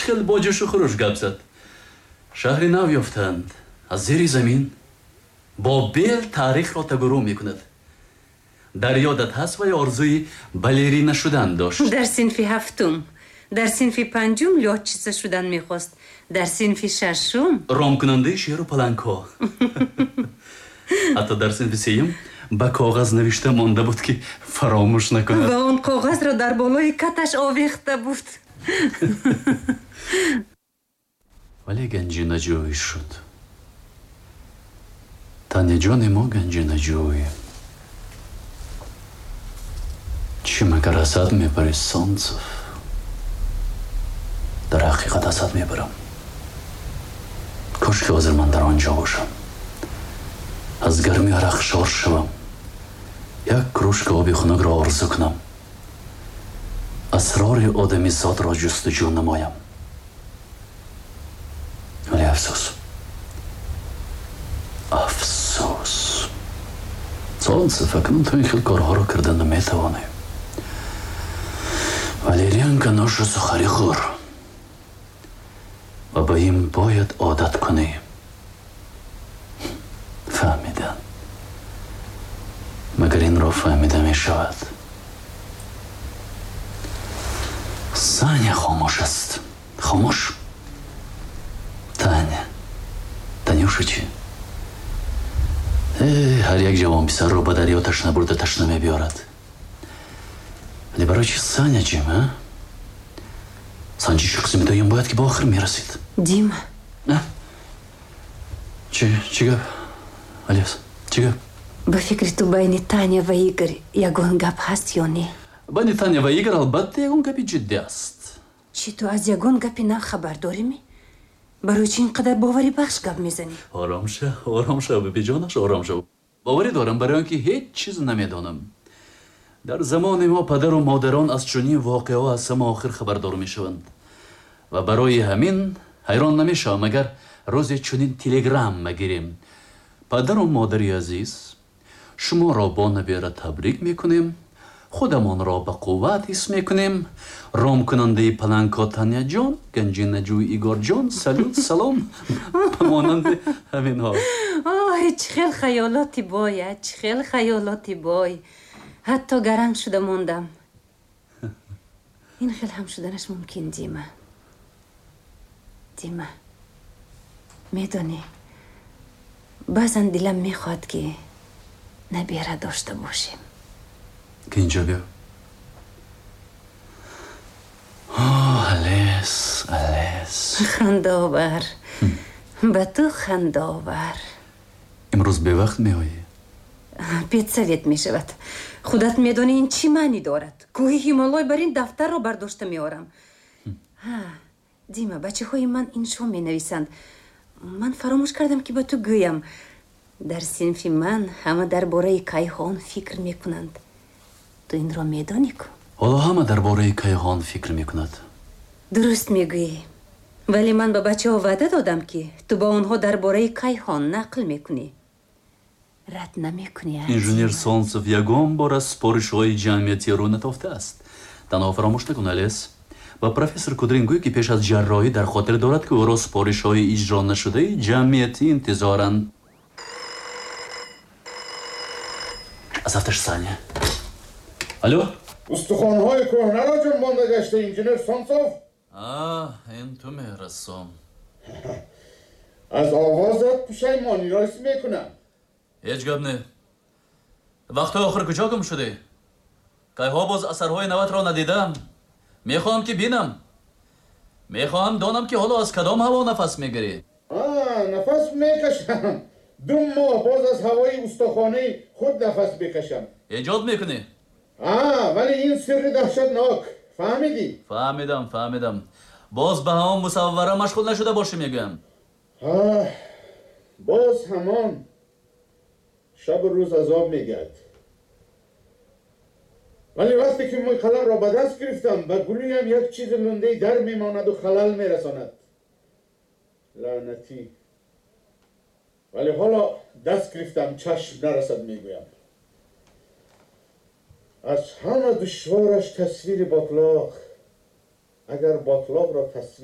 Хел бо ҷӯшу хуруш гап зад. Шаҳри нав ёфтанд. Аз зери замин бо бел таърихро тагурӯ мекунад. Дар ёдат ҳаст ва ё орзуи балерина шудан дошт? Дар синфи ҳафтум. Дар синфи панҷум лётчица шудан мехост. Дар синфи шашум ромкунандаи шеру палангҳо. Ҳатто дар синфи сеюм ба коғаз навишта монда буд, ки фаромӯш накунад. Ва он коғазро дар болои каташ овехта буд. Вале ганҷинаҷӯй шуд. Таняҷони мо ганҷинаҷӯй. Чӣ магар асад мебари, Солнцев? Дар ҳақиқат асад мебарам. Кош ки ҳозир ман дар он ҷо бошам. Аз гарми арақ шор шавам. Як кружка оби хунукро орзу кунам. Асрори одамизодро ҷустуҷӯ намоям. Вале афсӯс. Афсӯс. Солнцев, акнун ту ин хел корҳоро карда наметавонӣ. Валерьянка ношу сухарӣ хӯр ва ба ин бояд одат кунӣ. Фаҳмидан. Магар инро фаҳмида мешавад? Саня хомӯш аст. Хомӯш. Таня. Танюша чӣ? Ҳар як ҷавонписарро ба дарё ташна бурда ташна мебиёрад. Вале барои чи Саня ҷим, а? Санҷиши қисми дуюм бояд ки ба охир мерасид. Дима. Чӣ гап? Алёс, чӣ гап? Ба фикри ту байни Таня ва Игорь ягон гап ҳаст ё не? Байни Таня ва Игорь албатта ягон гапи ҷиддӣ аст. Чӣ, ту аз ягон гапи нав хабар дорӣ? Барои чӣ ин қадар боварибахш гап мезанӣ? Ором шав, ором шав, бибиҷонаш, ором шав. Боварӣ дорам, барои он ки ҳеҷ чиз намедонам. Дар замони мо падару модарон аз чунин воқеаҳо аз ҳама охир хабардор мешаванд. Ва барои ҳамин ҳайрон намешавам, агар рӯзе чунин телеграмма гирем. Падару модари азиз, шуморо бо набера табрик мекунем, худамонро ба қувват ҳис мекунем. Ромкунандаи палангҳо Таняҷон, ганҷинаҷӯи Игорҷон, салют, салом, ба монанди ҳаминҳо. Ой, чӣ хел хаёлоти бой, чӣ хел хаёлоти бой. Ҳатто гаранг шуда мондам. Ин хел ҳам шуданаш мумкин, Дима. Дима, медонӣ, баъзан дилам мехоҳад, ки набера дошта бошем. Ки инҷо биё. Алес, Алес. Хандаовар. Ба ту хандаовар. Имрӯз бевақт меоӣ? Педсовет мешавад. Худат медонӣ, ин чӣ маънӣ дорад. Кӯҳи Ҳимолой бар ин дафтарро бардошта меорам. Дима, бачаҳои ман иншо менависанд. Ман фаромӯш кардам, ки ба ту гӯям. Дар синфи ман ҳама дар бораи кайҳон фикр мекунанд. Ту инро медонӣ ку? Ҳоло ҳама дар бораи кайҳон фикр мекунад. Дуруст мегӯӣ. Вале ман ба бачаҳо ваъда додам, ки ту ба онҳо дар бораи кайҳон нақл мекунӣ. Рад намекунӣ? Инженер Солнцев ягон бор аз супоришҳои ҷамъиятӣ рӯ натофтааст. Танҳо фаромӯш накун, Алес. Ба профессор Кудрин гӯй, ки пеш аз ҷарроҳӣ дар хотир дорад, ки ӯро супоришҳои иҷро нашудаи ҷамъиятӣ интизоранд. Аз ҳафташ Саня. Алло? Устухонҳои кӯҳнаро ҷунбонда гашта, инженер Солнцев? Ин ту меҳрасом. Аз овозат пушаймониро ҳис мекунам. Ҳеҷ гап не. Вақтҳои охир куҷо гум шудӣ? Кайҳо боз асарҳои наватро надидам. Мехоҳам, ки бинам. Мехоҳам донам, ки ҳоло аз кадом ҳаво нафас мегирӣ. Нафас мекашам. 2 моҳ боз аз ҳавои устохонаи худ нафас мекашам. Эҷод мекунӣ? Вале ин сирри даҳшатнок, фаҳмидӣ? Фаҳмидам, фаҳмидам. Боз ба ҳамон мусаввара машғул нашуда бошӣ, мегӯям. Боз ҳамон шабу рӯз азоб мегирд. Вале вақте ки мӯи қаламро ба даст гирифтам, ба гулӯям як чизи лундаи дар мемонаду халал мерасонад. Лаънатӣ! Вале ҳоло даст гирифтам, чашм нарасад, мегӯям. Аз ҳама душвораш тасвири ботлоқ. Агар ботлоқро тасвир